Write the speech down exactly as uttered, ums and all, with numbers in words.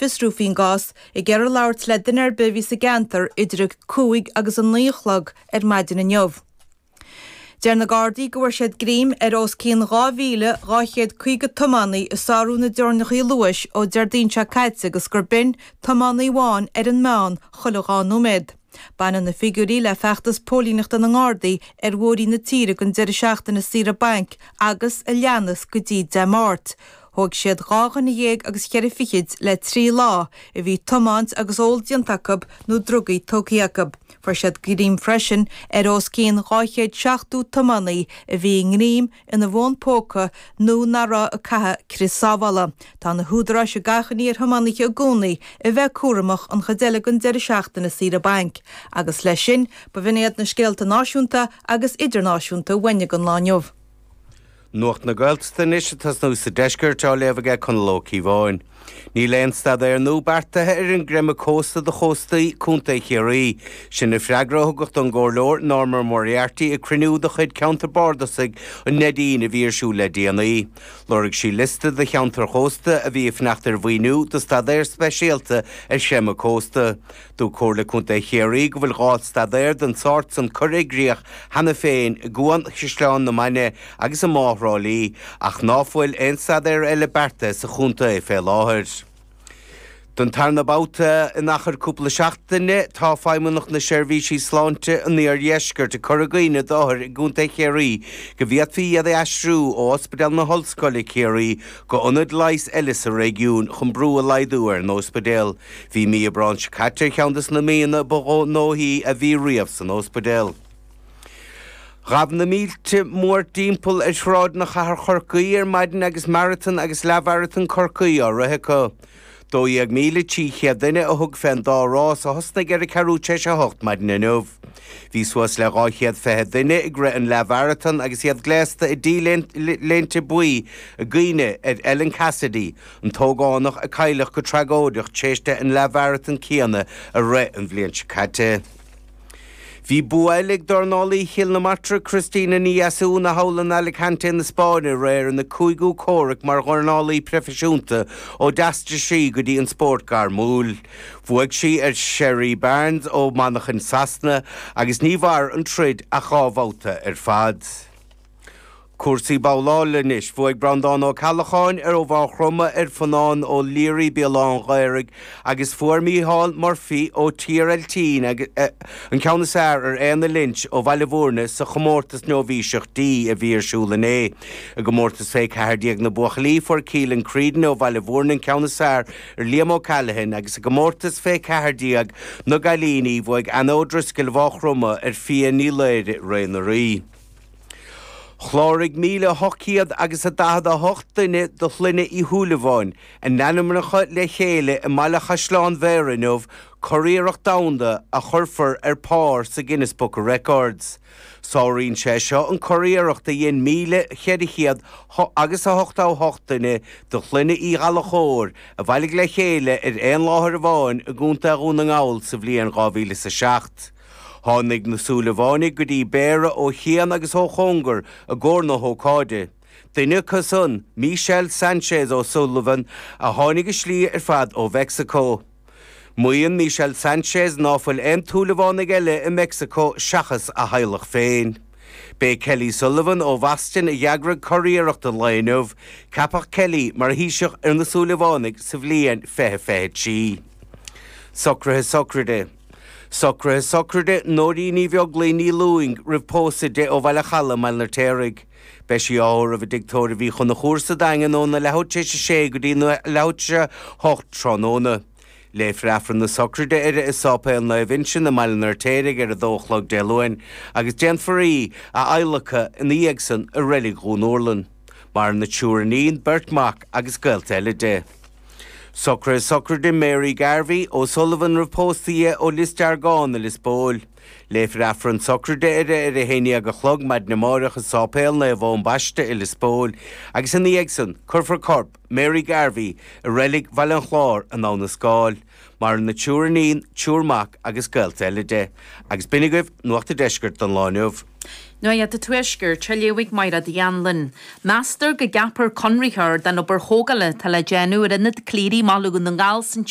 fiosrú faoin gcás ag iarraidh labhairt le duine ar bith a bhí sa gceantar idir a cúig agus a naoi a chlog ar maidin inniu. Deir na Gardaí go bhfuair siad greim ar os cionn dhá mhíle dhá chéad caoga tiománaí ag sárú na dteorainneacha luais ó Déardaoin seo caite agus gur b'in tiománaí amháin ar an meán chuile dhá nóiméad. Baineann na figiúirí le feachtas póilíneachta na nGardaí ar bhóithrí na tíre don deireadh seachtaine saoire bainc agus a leanas go dtí Dé Máirt. Thóg siad dhá dhuine dhéag agus cheithre fichid le trí lá a bhí ag tiomáint agus ól déanta acu nó drugaí tógtha acu. Fuair siad greim freisin ar os cionn dhá chéad seachtó tiománaí a bhí i ngreim ina bhfón póca nó nach raibh ag caitheamh crios sábhála. Tá na húdaráis ag achainí ar thiománaithe i gcónaí a bheith cúramach an chuid eile den deireadh seachtaine saoire bainc. Agus leis sin, ba bh'in iad na scéalta náisiúnta agus idirnáisiúnta uainne don lá inniu. Nuacht na Gaeltachta anois ag tosnú sa deisceart á léamh aige Conall Ó Cíobháin. Níl aon staidéar nua beartaithe ar an gcreimeadh cósta do chóstaí Contae Chiarraí. Sin an freagra a thugadh don gComhairleoir Norma Moriarty ag cruinniú de chuid Ceantar Bardasach an Neidín a bhí ar siúl le déanaí. Lorg sí liosta de cheantair chósta a bhí ag fanacht ar mhaoiniú do staidéar speisialta ar chreimeadh cósta. Dúirt Comhairle Contae Chiarraí go bhfuil dhá staidéar den sórt san curtha i gcrích cheana féin i gCuan Chaisleán na Mainge agus i mBá Thrá Lí, ach ná fuil aon staidéar eile beartaithe sa chontae fé láthair. Don tarna babhta in achar cúpla seachtaine, tá Feidhmeannacht na Seirbhísí Sláinte an Iardheiscirt ag cur i gcuimhne d'othair i gContae Chiarraí go bhféadfaí iad a aistriú ó Ospidéal na hOllscoile Ciarraí go ionad leighis eile sa réigiún chun brú a laghdú ar an ospidéal. Bhí mí Aibreáin seo caite ar cheann de na míonna ba ghnóthaí a bhí riamh san ospidéal. Ghabh na mílte mórthimpeall ar shráideanna chathair Chorcaí ar maidin agus maratón agus leathmharatón Chorcaí á rith acu. Dó dhéag míle trí chéad duine a thug fén dá rás a thosnaigh ar a ceathrú tar éis a hocht maidin inniu. Bhí suas le dhá chéad fiche duine ag rith an leathmharatón agus iad gléasta i T-léinte buí i gcuimhne ar Ellen Cassidy, an t-ógánach a cailleadh go tragóideach tar éis di an leathmharatón céanna a rith an bhliain seo caite. Bhí bua eile ag dornálaí Chill na Martra Christina Ní Dheasúna thall in Alicante na Spáinne aréir ina cúigiú comhrac mar dhornálaí proifisiúnta ó d'aistrigh sí go dtí an spórt gairmiúil. Bhuaigh sí ar Sherry Barnes ó Manchain Sasana agus ní mhair an troid ach dhá bhabhta ar fad. Cúrsaí babhlála anois. Bhuaigh Breandán Ó Ceallacháin ar ó Mhaigh Chromtha ar Fionán Ó Laoire Béal Átha an Ghaorthaidh agus fuair Mícheál Murphy ó Tír Eiltín an ceann is fearr ar Éanna Lynch ó Bhaile Bhúirne sa chomórtas nóibhíseach D a bhí ar siúl inné. I gcomórtas fé ceathair déag na buachaillí fuair Keelan Creedon ó Bhaile Bhúirne an ceann is fearr ar Liam O'Callaghan agus i gcomórtas fé ceathair déag na gcailíní bhuaigh Anna O'Driscoll Mhaigh Chromtha ar Phia Ní Laoire Ré na Rí. Chláraigh míle ocht gcéad agus a daichead a hocht duine de shloinne Uí Shúilleabháin a n-ainmneacha le chéile i mBaile Chaisleán Bhéarra inniu, curiarracht domhanda a chuirfear ar pár sa Guinness Book of Records. Sáraíonn sé seo an curiarracht a dhein míle cheithre chéad agus a hochtó a hocht duine de shloinne Uí Ghallchóir a bhailigh le chéile ar aon láthair amháin i gContae Dhún na nGall sa bhliain dhá mhíle is a seacht. Tháinig na Súilleabhánaigh go dtí Béarra ó chian agus ó chóngar i gcomhair na hócáide. Duine acu san, Michelle Sanchez O'Sullivan, a tháinig a slí ar fad ó Mheicsiceo. Maíonn Michelle Sanchez ná fuil aon tSúilleabhánaigh eile i Meicsiceo seachas a theaghlach féin. B'é Kelly Sullivan ó Bhoston a d'eagraigh curiarracht an lae inniu. Ceapadh Kelly mar thaoiseach ar na Súilleabhánaigh sa bhliain fiche fiche trí. Socruithe sochraide. Socruithe sochraide Nóirín Ní Bheaglaoí Ní Lúing roimh pósadh di ó Bhaile Chalaidh i mBaile an Fheirtéaraigh. Beidh sí á thórramh i dTigh Tórraimh Uí Chonchúir sa Daingean óna leathuair tar éis a sé go dtí leathuair tar éis a hocht tráthnóna. Léifear Aifreann na sochraide uirthi i Sáipéal Naomh Uinseann i mBaile an Fheirtéaraigh ar a dó a chlog Dé Luain agus déanfar í a adhlacadh ina dhiaidh san i Reilig Dhún Úrlann. Maireann a triúr iníon, beirt mhac agus gaolta eile di. Socruithe sochraide Mary Garvey, O'Sullivan roimh pósadh di ó Lios Deargán i Lios Póil. Léifear Aifreann sochraide uirthi ar a haon déag a chlog maidin amáireach i Sáipéal Naomh Eoin Baiste i Lios Póil agus ina dhiaidh san cuirfear corp Mary Garvey i Reilig Bhaile an Chláir in Abha na Scáil. Maireann a triúr iníon, triúr mac agus gaolta eile di. Agus b'in agaibh Nuacht an Deiscirt don lá inniu. Nuacht an Tuaiscirt á léamh ag Mairéad Uí Anluain. Meastar go gceapfar conraitheoir don obair thógála atá le déanamh ar Ionad Cleary i mBaile Dhún na nGall san